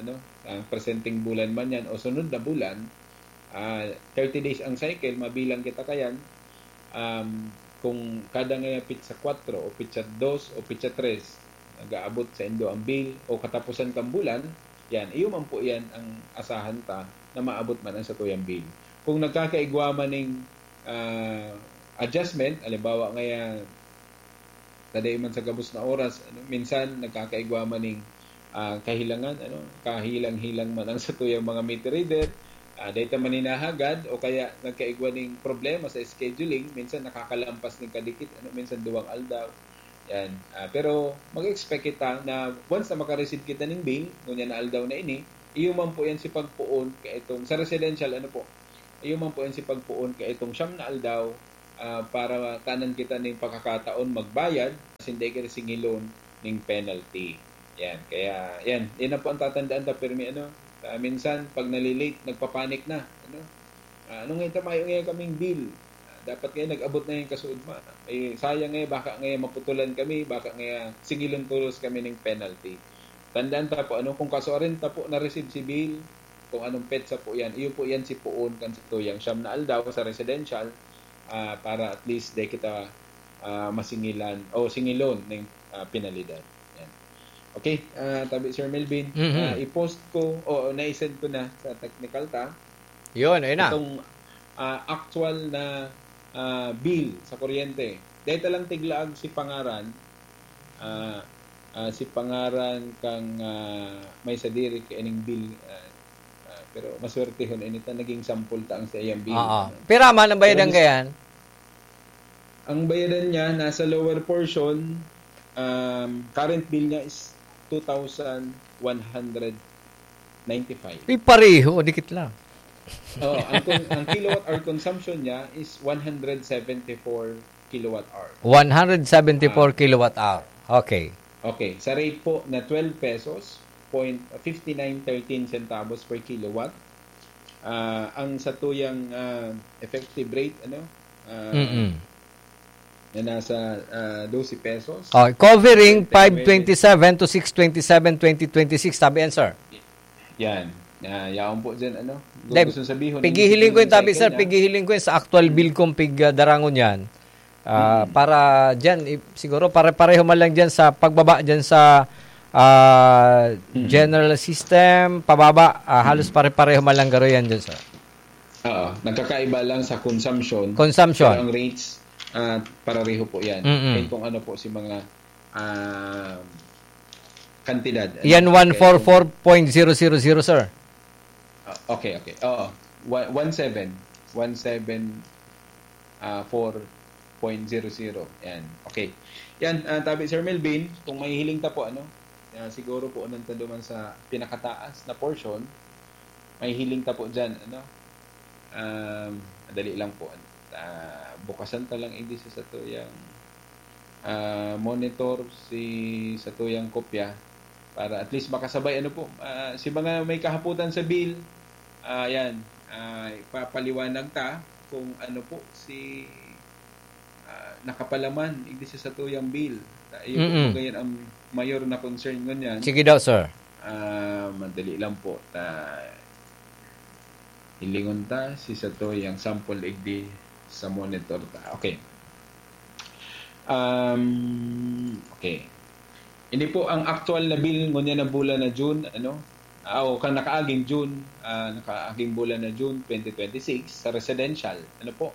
ano, ang presenteng bulan man yan o sunod na bulan, ah, thirty days ang cycle, mabilang kita kayan. Um, kung kada ngaya petsa kwatro o petsa dos o petsa tres, nag-aabot sa indo ang bill o katapusan kang bulan, yan, iyo man po yan ang asahan ta na maabot man ang satuyang bill. Kung nagkakaigwa man ning, ah, adjustment, halimbawa ngaya, kadai man sa gabos na oras, ano, minsan nagkakaigwa man ning, ah, kahilangan, ano, kahilang-hilang man ang satuyang mga meter reader, ah, dai ta man hinahagad o kaya nagkaigwa ning problema sa scheduling, minsan nakakalampas ning kadikit, ano, minsan duwang aldaw. Yan. Ah, pero mag-expect kita na once na maka-receive kita ning bill, ngunyan na aldaw na ini, iyo man po yan si pagpoon kaitong, sa residential, ano po, iyo man po yan si pagpoon kaitong siyam na aldaw, ah, para tanan kita ning pagkakataon magbayad, asin dai kita singilon ning penalty. Yan. Kaya, yan. Yan na po ang tatandaan ta, pirmi, ano. Ah, minsan, pag nalilate, nagpapanik na. Ano? Ah, ano nga ito, mayo nga kaming bill. Ah, dapat ngayon, nag-abot na yung kasuodma. Eh, sayang nga, baka nga maputulan kami, baka nga singilon tolos kami ning penalty. Tandaan ta po, ano, kung kasuarin ta po na-receive si bill, kung anong petsa po yan, iyo po yan si poon kan sa tuyang siyam na aldaw sa residential, ah, para at least di kita, ah, masingilan o singilon ng, ah, penalidad. Yan. Okay, ah, tabi Sir Melvin, Mhm. ah, i-post ko o naisend ko na sa technical ta Yun, ayun na. itong, ah, actual na, ah, bill sa kuryente. Dahil talang tiglaag si pangaran, ah, ah, si pangaran kang, ah, may sadiri kaining bill, ah, ah, pero maswertehon, ini ta naging sample ta ang sa iyang bill. Oo. Ano? Pira man ang Pero bayadan mis- kayan? Ang bayadan niya nasa lower portion, um, current bill niya is two thousand one hundred ninety-five. Uy, pareho, dikit lang. Oh, ang, con- ang kilowatt hour consumption niya is one hundred seventy-four kilowatt hour. One hundred seventy-four Ah. kilowatt hour. Okay. Okay, sa rate po na twelve pesos, point fifty nine thirteen centavos per kilowatt. Ah, ang satuyang, ah, effective rate, ano, ah, Mm-mm. na nasa, ah, dose pesos. Oh, covering Depende. five twenty-seven to six twenty-seven twenty twenty-six, sabi yan, sir. Yan. Ah, yaon po dyan, ano. Kung Deb, gusto sabihon, pigihiling ko yung tabi, sir. Pigihiling ko yung sa actual bill kong pig, ah, darangon yan. Ah, Mm. para dyan, i- siguro pare-pareho man lang dyan sa pagbaba dyan sa, ah, Mm. general system, pababa, ah, halos Mm. pare-pareho man lang garo yan dyan, sir. Oo, nagkakaiba lang sa consumption. Consumption. Pero ang rates, ah, parareho po yan. Mm-mm. Kaya kung ano po si mga, ah, kantidad, ano, Yan kaya kung one four four point zero zero zero, sir. Ah, okay, okay. Oo. One, one seven. One seven, ah, four point zero zero. Yan. Okay. Yan, ah, tabi Sir Melvin, kung mahihiling ta po, ano, ah, siguro po, unang ta duman sa pinakataas na portion, mahihiling ta po dyan, ano, um, madali lang po, ano, ah, bukasan ta lang, hindi sa satuyang, ah, monitor, si satuyang kopya, para at least makasabay, ano po, ah, si mga may kahapotan sa bill, ah, yan, ah, ipapaliwanag ta kung ano po si, ah, nakapalaman, igdi sa satuyang bill. Ta-, iyo po Mm-mm. po ngayon ang mayor na concern ngunyan. Sige daw, sir. Ah, madali lang po. Ta-, hilingon ta, si satuyang sample igdi sa monitor ta. Okay. Um, okay. Hindi po ang aktual na bill ngunyan na bulan na June, ano? Ah, o kan nakaaging June, ah, nakaaging bulan na June twenty twenty-six sa residential. Ano po?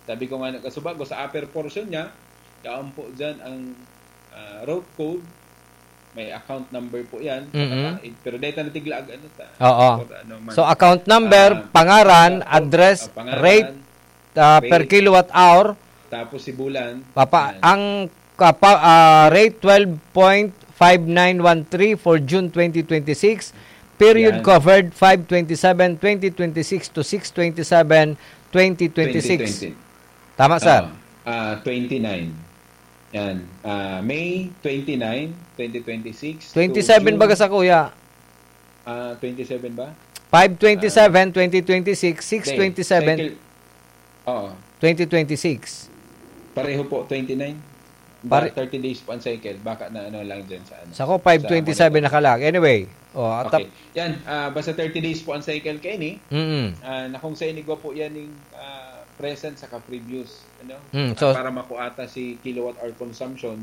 Sabi ko nga nagkasubago sa upper portion niya, yaon po dyan ang, ah, route code, may account number po yan, Mm-mm. nakataig. Pero data na tiglaag, ano ta? Oo. For ano man. So, account number, Ah, pangaran, ah, address, ah, pangaran, rate, ah, per rate, kilowatt hour. Tapos si bulan. Papa, Yan. ang kapa-, ah, rate twelve point five nine one three for June twenty twenty-six. Period Yan. covered five twenty-seven twenty twenty-six to six twenty-seven twenty twenty-six. Twenty twenty. Tama, sir? Oo. Ah, twenty-nine. Yan. Ah, May twenty-nine, twenty twenty-six to Twenty-seven June. baga sa kuya? Ah, twenty-seven ba? Five twenty-seven, Ah. twenty twenty-six, Hindi. six twenty-seven, Cycle. Oo. twenty twenty-six. Pareho po, twenty-nine. Ba, Pare- thirty days po ang cycle. Baka na ano lang dyan sa ano, Sa ko, sa five twenty-seven monitor. nakalag. Anyway, oh, atap- Okay. Yan, ah, basta thirty days po ang cycle kaini. Mm-mm. Ah, na kung sa inigwa po yan yung, ah, present saka previous, ano? Hmm, Ah, so para makuha ta si kilowatt hour consumption,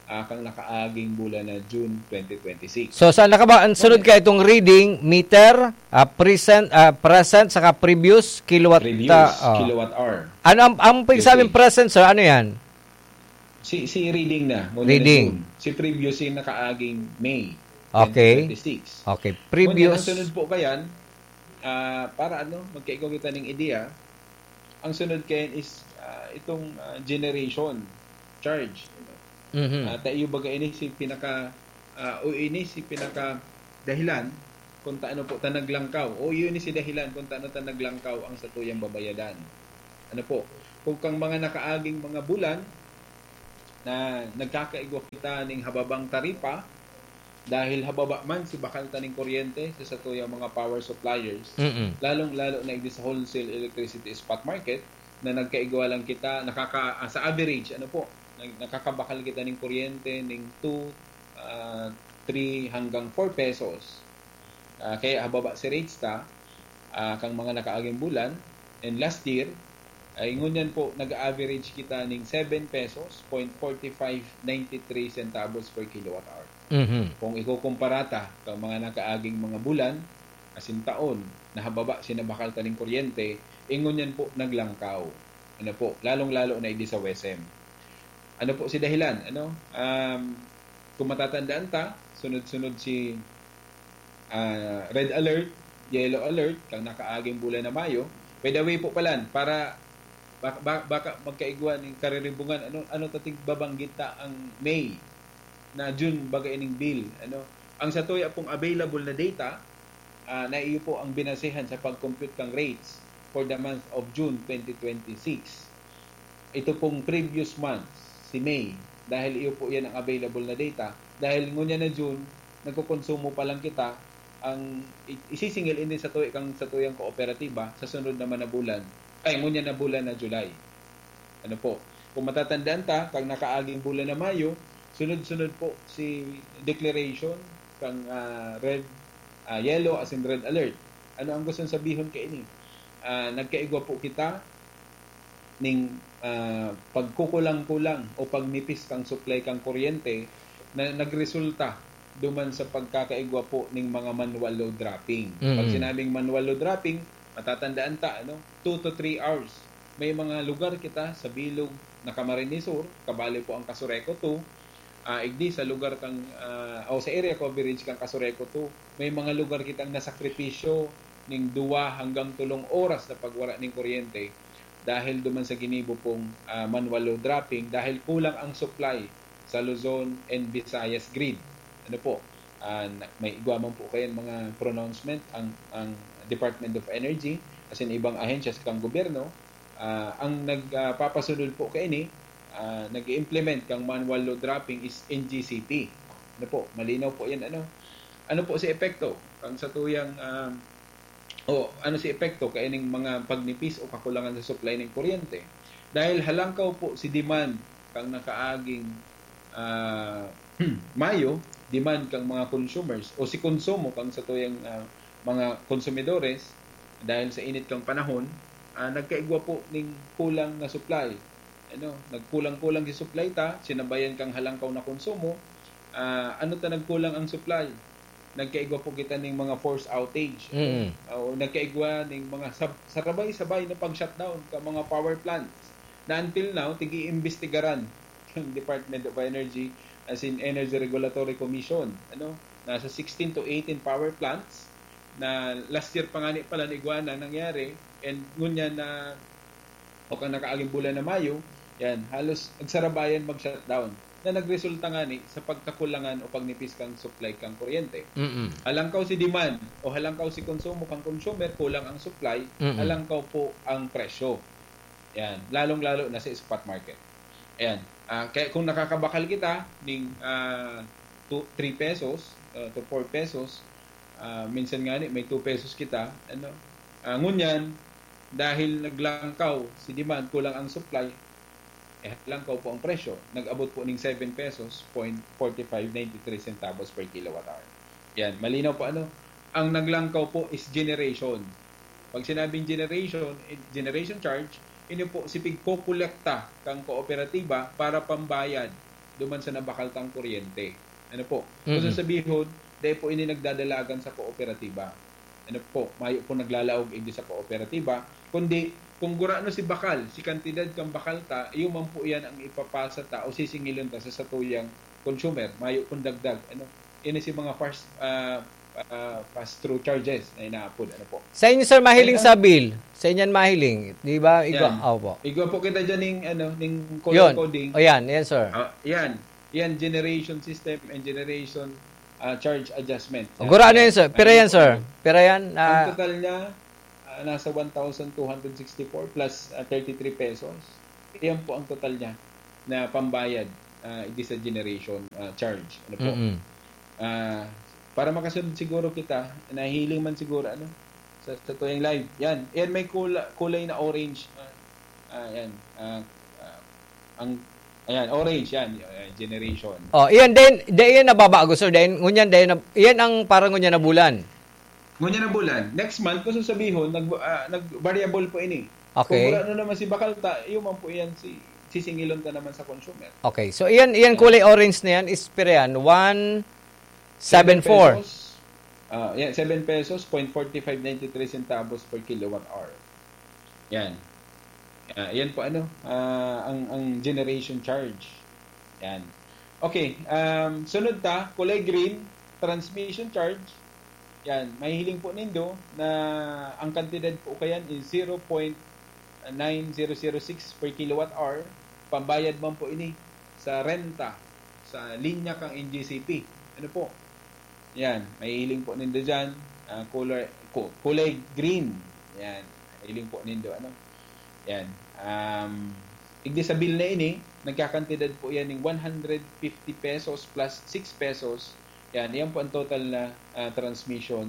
ah, kang nakaaging bulan na June twenty twenty-six. So, saan na ka ba? Ang sunod Okay. ka itong reading, meter, ah, present, ah, present, saka previous, kilowatt, Previous, ah, oh. kilowatt hour. Ano ang, ang pag-, Yes, sabing sir. present, sir, ano yan? Si, si reading na, muna na Reading. June. Si previous yung nakaaging May Okay. twenty twenty-six. Okay. Ngunyan, ang Previous. sunod po kayan, ah, para ano, magkaigwa kita ng idea, ang sunod kayan is, ah, itong, ah, generation charge. Mhm. Ah, ta iyo baga ini si pinaka, ah, o ini si pinaka dahilan kung taano po ta naglangkaw. O iyo ni si dahilan kung taano ta naglangkaw ang satuyang babayadan. Ano po? Kung kang mga nakaaging mga bulan na nagkakaigwa kita ning hababang taripa, dahil hababa man si bakal ta ning kuryente sa satuyang mga power suppliers, Mm-mm. lalong-lalo na igdi sa wholesale electricity spot market, na nagkaigwa lang kita, nakaka, ah, sa average, ano po, nag-, nakakabakal kita ning kuryente ning two, ah, three hanggang four pesos. Ah, kaya hababa si rates ta, ah, kang mga nakaaging bulan. And last year, ay ngunyan po, nag-average kita ning seven pesos, point forty five nine three centavos per kilowatt hour. Mhm. Kung ikukumpara ta kang mga nakaaging mga bulan, asin taon, na hababa si nabakal ta ning kuryente, ingon yan po naglangkaw. Ano po, lalong-lalo na idi sa WESM. Ano po si dahilan? Ano? Um, kung matatandaan ta, sunod-sunod si ah, red alert, yellow alert, kang nakaaging bulan na Mayo. By the way po palan, para bak- ba- baka magkaigwa ning kariribungan, ano ano ta tigbabanggit ta ang May na June baga ining bill, ano. Ang satuya pong available na data, ah, na iyo po ang binasehan sa pag-compute kang rates for the month of June twenty twenty-six. Ito pong previous month, si May, dahil iyo po yan ang available na data, dahil ngunyan na June, nagkokonsumo pa lang kita, ang i- isisingil ini sa tuwi kang sa tuyang kooperatiba sa sunod naman na bulan, ay, ngunyan na bulan na July. Ano po? Kung matatandaan ta, kang nakaaging bulan na Mayo, sunod-sunod po si declaration kang ah, red, ah, yellow as in red alert. Ano ang gustong sabihon kaini? Ah, nagkaigwa po kita ning ah, pagkukulang-kulang o pagnipis kang supply kang kuryente na nagresulta duman sa pagkakaigwa po ning mga manual load dropping. Pag Mm. sinabing manual load dropping, matatandaan ta, ano, two to three hours. May mga lugar kita sa bilog na Camarines Sur, kabali po ang Casureco two, ah, igdi sa lugar kang, ah, o sa area coverage kang Casureco two, may mga lugar kitang nasakripisyo ning duwa hanggang tulong oras na pagwara ning kuryente dahil duman sa ginibo pong ah, manual load dropping dahil kulang ang supply sa Luzon and Visayas grid. Ano po? Ah, na- may igwa man po kayo mga pronouncement ang ang Department of Energy as in ibang ahensya sa kang gobyerno, ah, ang nagpapasunod po kaini, ah, nag-implement kang manual load dropping is N G C P. Ano po? Malinaw po 'yan, ano. Ano po si epekto kang sa tuyang ah, o ano si epekto kaining mga pagnipis o kakulangan sa supply ning kuryente? Dahil halangkaw po si demand kang nakaaging ah, Mayo, demand kang mga consumers o si konsumo kang sa tuyang ah, mga konsumidores dahil sa init kang panahon, ah, nagkaigwa po ning kulang na supply. Ano, nagkulang-kulang si supply ta, sinabayan kang halangkaw na konsumo. Ah, ano ta nagkulang ang supply? Nagkaigwa po kita ning mga force outage. Mm. O nagkaigwa ning mga sab- sarabay-sabay na pag-shutdown ka mga power plants na until now, tigi-imbestigaran ng Department of Energy as in Energy Regulatory Commission. Ano? Nasa sixteen to eighteen power plants na last year pa nga ni pala naigwa na nangyari and ngunyan na o kang nakaaging bulan na Mayo, yan, halos nagsarabayan mag-shutdown na nagresulta nga ni sa pagkakulangan o pagnipis kang supply kang kuryente. Mm-mm. Halangkaw si demand o halangkaw si konsumo kang consumer, kulang ang supply, Mm-mm. halangkaw po ang presyo. Yan, lalong-lalo na sa spot market. Ayan. Ah, kaya kung nakakabakal kita ning ah, two, three pesos ah, to four pesos, ah, minsan nga ni may two pesos kita, ano, ah, ngunyan, dahil naglangkaw si demand, kulang ang supply, eh, langkaw po ang presyo. Nag-abot po ning seven pesos, point forty five nine three centavos per kilowatt hour. Yan, malinaw po ano. Ang naglangkaw po is generation. Pag sinabing generation, eh, generation charge, ini po si pigkokolekta kang kooperatiba para pambayad duman sa nabakaltang kuryente. Ano po? Kung Mm-mm. Sasabihin, dahil po ini nagdadalagan sa kooperatiba. Ano po? Mayo po naglalaog hindi sa kooperatiba, kundi kung gurano si bakal, si kantidad kang bakal ta, iyo man po yan ang ipapasa ta o sisingilon ta sa satuyang consumer. Mayo pong dagdag. Ano? Ini si mga fast, ah, ah, pass-through charges na inaapod. Ano po? Sa inyo, sir, mahiling Ay, sa bill. Sa inyo mahiling. Di ba? Igwa, Yan. Opo. Igwa po kita dyan yung, ano, yung Yun. color coding. O yan, yan, sir. Ah, yan. Yan, generation system and generation ah, charge adjustment. O, gurano yan, sir. Pira yan, Ano po sir. yun? Pira yan. Ang Ah, total niya, nasa one thousand two hundred sixty-four plus, ah, thirty-three pesos. Iyan po ang total niya na pambayad, ah, digdi sa generation, ah, charge. Ano po? Mm-mm. Ah, para makasunod siguro kita, nahiling man siguro, ano, sa, sa tuyang live. Yan. Yan, may kula-, kulay na orange. Ah, ah, yan. Ah, ah, ang, ayan, orange yan. Yan, generation. Oh, iyan din, di iyan nababago, sir. Dahil ngunyan, dahil na, iyan ang parang ngunyan na bulan. Ngunyan na bulan. Next month, kung sasabihon, nag, ah, nag-variable po ini. Kung Okay. wala na naman si bakal ta, iyo man po iyan si sisingilon ta naman sa consumer. Okay. So, iyan, iyan kulay orange na yan is pira yan. One seven four. Pesos. Ah, yan, seven pesos, point forty-five ninety-three centavos per kilowatt hour. Yan. Ah, yan po ano, ah, ang, ang generation charge. Yan. Okay, um, sunod ta, kulay green, transmission charge. Yan, mahihiling po nindo na ang kantidad po kayan is zero point nine zero zero six per kilowatt hour. Pambayad man po ini sa renta sa linya kang N G C P. Ano po? Yan, mahihiling po nindo dyan. Ah, color, ku-, kulay green. Yan, mahihiling po nindo. Ano? Yan. Um, igdi sa bill na ini, nagkakantidad po yan ng one hundred fifty pesos plus six pesos. Yan, yan po ang total na, ah, transmission,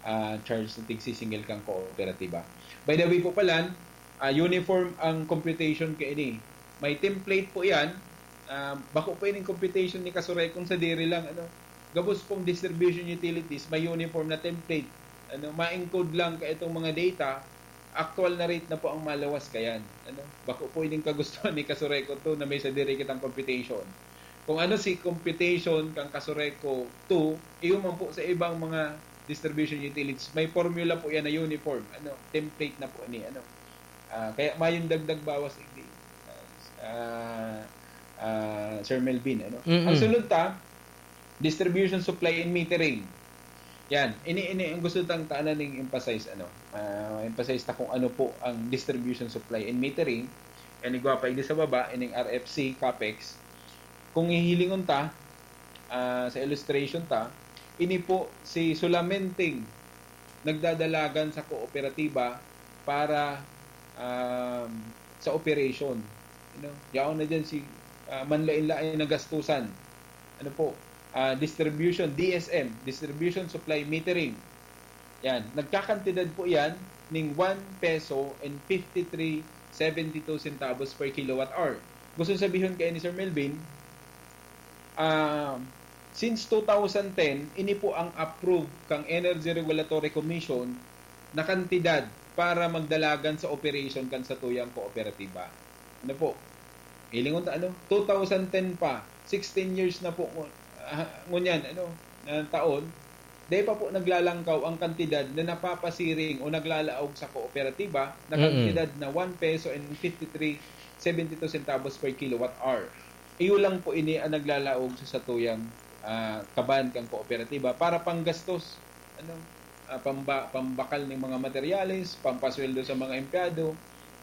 ah, charge na tigsisingil kang kooperatiba. By the way po pala, ah, uniform ang computation kaini. May template po yan. Ah, bako po ining computation ni Kasurekong sadiri lang, ano. Gabos pong distribution utilities, may uniform na template. Ano, ma-encode lang ka itong mga data, actual na rate na po ang maluwas kayan. Ano, bako po ining kagustuhan ni Kasureco to na may sadiri kitang computation. Kung ano si computation kang Kasureco two, iyo man po sa ibang mga distribution utilities, may formula po yan na uniform, ano, template na po ni, ano. Ah, kaya mayong dagdag bawas, igdi, ah, ah, Sir Melvin, ano. Mm-mm. Ang sunod ta, distribution, supply, and metering. Yan, ini, ini ang gusto tang tanan ning emphasize, ano. Ah, emphasize ta kung ano po ang distribution, supply, and metering. Yan, igwa pa igdi sa baba, ining R F C, capex. Kung hihilingon ta, ah, sa illustration ta, ini po si sulamenteng nagdadalagan sa kooperatiba para, um, sa operation. You know, yaon na dyan si, ah, manlain-lain na gastusan. Ano po? Ah, distribution, D S M, distribution, supply, metering. Yan. Nagkakantidad po yan ning one peso and fifty-three seventy-two centavos per kilowatt hour. Gusto sabihon kay ni Sir Melvin, ah, since two thousand ten, ini po ang approve kang Energy Regulatory Commission na kantidad para magdalagan sa operation kan satuyang kooperatiba. Ano po? Hilingon ta, ano? Two thousand ten pa, sixteen years na po ngu-, ah, ngunyan, ano, na taon, dahil pa po naglalangkaw ang kantidad na napapasiring o naglalaog sa kooperatiba na Mm-mm. kantidad na one peso and fifty-three seventy-two centavos per kilowatt hour. Iyo lang po ini ang naglalaog sa satuyang, ah, kaban kang kooperatiba para panggastos, ano, ah, pamba-, pambakal ng mga materyales, pampasweldo sa mga empleyado.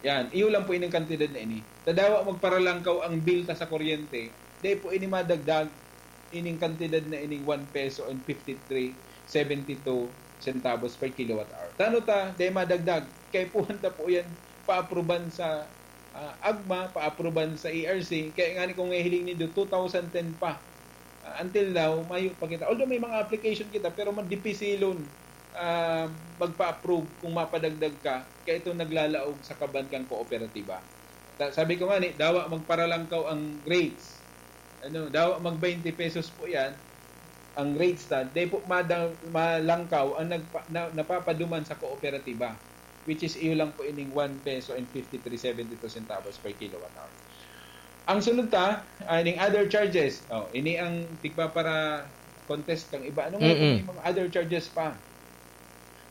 Yan, iyo lang po ining kantidad na ini. Tadawa magparalangkaw ang bill ta sa kuryente, dahil po ini madagdag ining kantidad na ining one peso and fifty-three seventy-two centavos per kilowatt hour. Tano ta, dahil madagdag, kaipuhan ta po yan paapruban sa, ah, agma, paapruban sa E R C. Kaya nga ni kung hiling nindo, two thousand ten pa. Ah, until now, mayo pa kita. Although may mga application kita, pero madipisilon, ah, magpa-approve kung mapadagdag ka, kaya ito naglalaog sa kaban kang kooperatiba. Ta-, sabi ko nga ni, dawa magparalangkaw ang rates. Ano, dawa mag twenty pesos po yan, ang rates ta. Di po mada-, malangkaw ang nagpa-, na, napapaduman sa kooperatiba, which is iyo lang po ining one peso and fifty-three seventy-two centavos per kilowatt hour. Ang sunod ta, ah, ining other charges. Oh, ini ang tigpapara-contest kang iba. Ano nga Mm-mm. may mga other charges pa?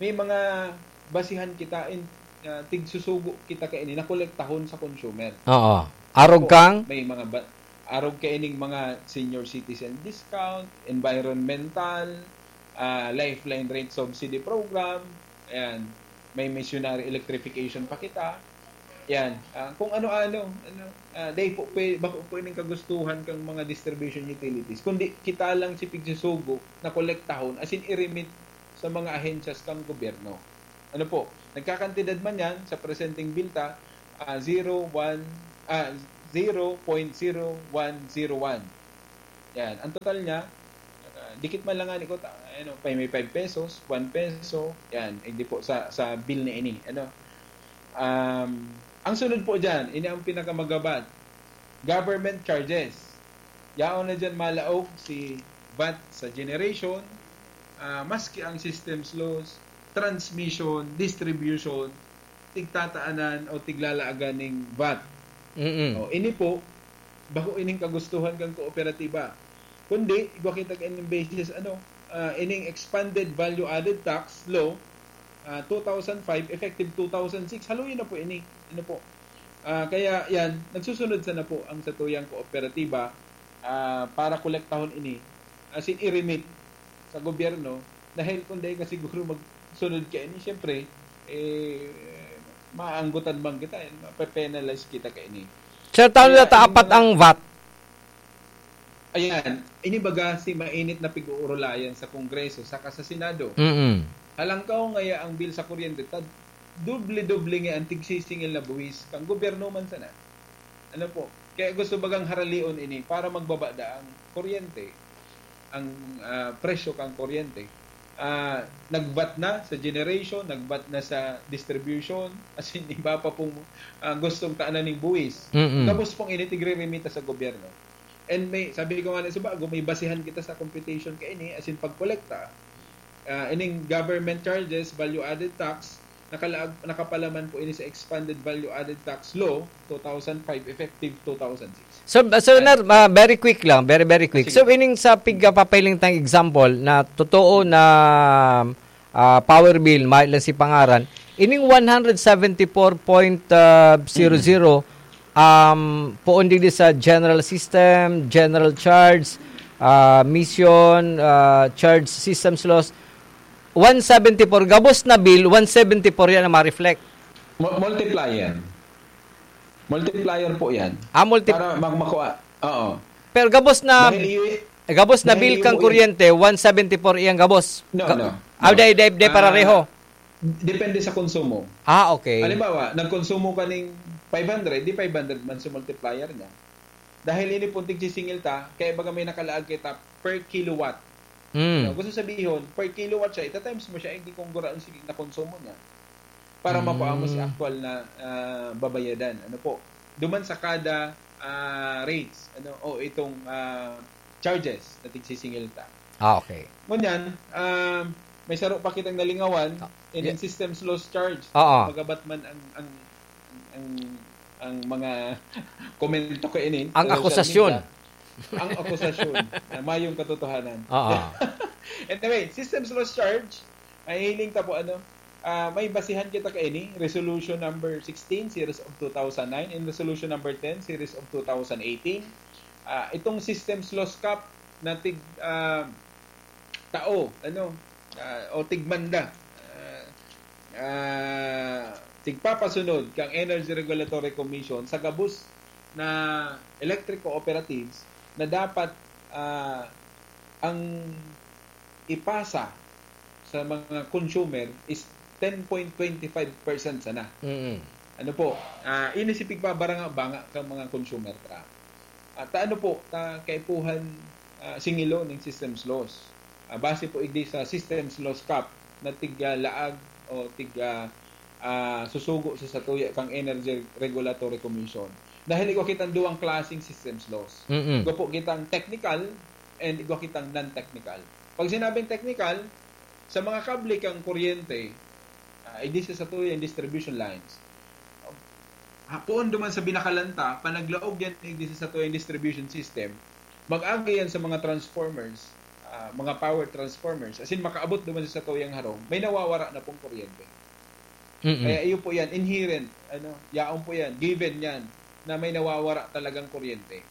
May mga basihan kita in, ah, tigsusugo kita kaini na kolektahon sa consumer. Oo. Arog kang? May mga ba-, arog kaining mga senior citizen discount, environmental, ah, lifeline rate subsidy program, ayan, may missionary electrification pa kita. Yan. Ah, kung ano-ano, ano, ah, dahil po, pwe-, bako po ining kagustuhan kang mga distribution utilities, kundi kita lang si pigsusugo na kolektahon, as in, i-remit sa mga ahensyas kang gobyerno. Ano po, nagkakantidad man yan sa presenteng bill ta, ah, zero one, ah, zero point zero one zero one. Yan. Ang total niya, ah, dikit man lang nga ni kota, ano, pa may five pesos, one peso, yan, hindi po sa, sa bill na ini, ano. Um, ang sunod po dyan, ini ang pinakamagabat, government charges. Yaon na dyan malaog si vat sa generation, ah, maski ang systems loss, transmission, distribution, tigtataanan o tiglalaagan ning vat. Mm-mm. O, ini po, bako ining kagustuhan kang kooperatiba. Kundi, igwa kita kaining basis, ano, ah, ining expanded value added tax law, ah, two thousand five, effective two thousand six, haluyon na po ini. Ano po? Ah, kaya yan, nagsusunod sana po ang satuyang kooperatiba, ah, para kolektahon ini, as in, i-remit sa gobyerno, dahil kung dahil ka siguro magsunod ka ini, siyempre, eh, maanggutan man kita, eh, mape-penalize kita ka ini. Sir, taon Kaya na ta yung apat mga ang vat? Ayan, ini baga si mainit na pig-uurulayan sa Kongreso saka sa Senado. Mm-mm. Halangkaw ngaya ang bill sa kuryente, tad doble-doble nga ang tigsisingil na buwis kang gobyerno man sana. Ano po? Kaya gusto bagang haralion ini para magbaba da ang kuryente, ang, ah, presyo kang kuryente. Ah, nagbat na sa generation, nagbat na sa distribution, as in, iba pa pong, ah, gustong taanan ning buwis. Mm-mm. Gabos pong ini tigre-remita sa gobyerno. And may, sabi ko nga na sa bago, may basihan kita sa computation ka ini, as in pagkolekta. Ah, ining government charges, value added tax, nakalaag, nakapalaman po ini sa expanded value added tax law, two thousand five, effective two thousand six. So, so Ner, ah, very quick lang, very, very quick. Sige. So, ining sa pigkapapahiling tang example na totoo na ah, power bill, may lang si pangaran, ining one hundred seventy-four point zero zero, um, poon digdi sa general system, general charge, ah, mission, ah, charge systems loss, one seventy-four, gabos na bill, one seventy-four yan ang ma-reflect. Mu-, multiplier. Multiplier po yan. Ah, multi- Para mag-, makuha. Oo. Pero gabos na, Dahil i- eh, gabos na dahil bill kang i- kuryente, one seventy-four iyang gabos. No, Ga- no. Ah, No. dai, dai, dai, Ah, pareho. Depende sa konsumo. Ah, okay. Halimbawa, nagkonsumo ka ning five hundred, di five hundred man si multiplier niya. Dahil ini pong tigsisingil ta, kaya baga may nakalaag kita per kilowatt. Mm. No, gusto sabihin, per kilowatt siya, ita-times mo siya, hindi kung guraan sige na konsumo niya. Para Mm. makuha mo si actual na, ah, babayadan. Ano po? Duman sa kada, ah, rates, ano, o itong, ah, charges na tigsisingil ta. Ah, okay. Ngunyan, ah, may saro pa kitang nalingawan, Ah, in yeah. Systems loss charge. Oo. Magabat man ang, ang, ang, ang mga komento ko ini Ang sa social akusasyon. media. Ang akusasyon na mayong katotohanan. Oo. Anyway, systems loss charge, mahihiling ta po, ano, ah, may basihan kita kaini, Resolution number sixteen, series of two thousand nine, and Resolution number ten, series of two thousand eighteen. Ah, itong systems loss cap na tig, ah, tao, ano, ah, o tigmanda, ah, ah, tigpapasunod kang Energy Regulatory Commission sa gabos na electric cooperatives na dapat, ah, ang ipasa sa mga consumer is ten point twenty five percent sana. Mm. Ano po, ah, ini si pigpabanga-banga kang mga consumer ta. At ano po, ta kaipuhan, ah, singilo ning systems loss. Ah, base po igdi sa systems loss cap na tig, ah, laag o tig, ah, ah, susugo sa satuya kang Energy Regulatory Commission. Dahil igwa kitang duwang klaseng systems loss. Mm-mm. Igwa po kitang technical and igwa kitang non-technical. Pag sinabing technical, sa mga kable kang kuryente, ah, igdi sa satuya yung distribution lines. Hapoon duman sa binakalan ta, panaglaog yan igdi sa satuya yung distribution system, mag-agi yan sa mga transformers, ah, mga power transformers, as in makaabot duman sa satuyang harong, may nawawara na pong kuryente. Mm-mm. Kaya iyo po yan, inherent, ano, yaon po yan, given yan, na may nawawara talagang kuryente.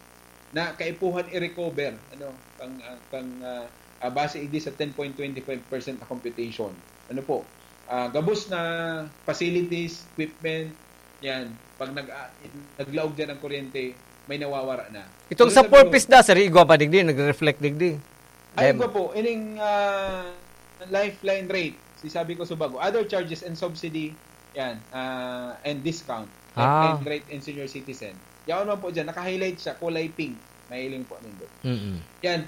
Na kaipuhan i-recover, ano, kang, ah, kang, ah, ah, base igdi sa ten point twenty five percent na computation. Ano po, ah, gabos na facilities, equipment, yan, pag nag, ah, naglaog dyan ang kuryente, may nawawara na. Itong Gusto sa sabihin four ko, Ps da, sir, igwa pa digdi, nagre-reflect digdi. Ay, Dem- igwa po, ining, ah, lifeline rate. Di sabi ko sa bago, other charges and subsidy, yan, ah, and discount, and, Ah. and rate and senior citizen. Yaon man po dyan, naka-highlight siya, kulay pink. Mahiling po nindo. Mm-mm. Yan,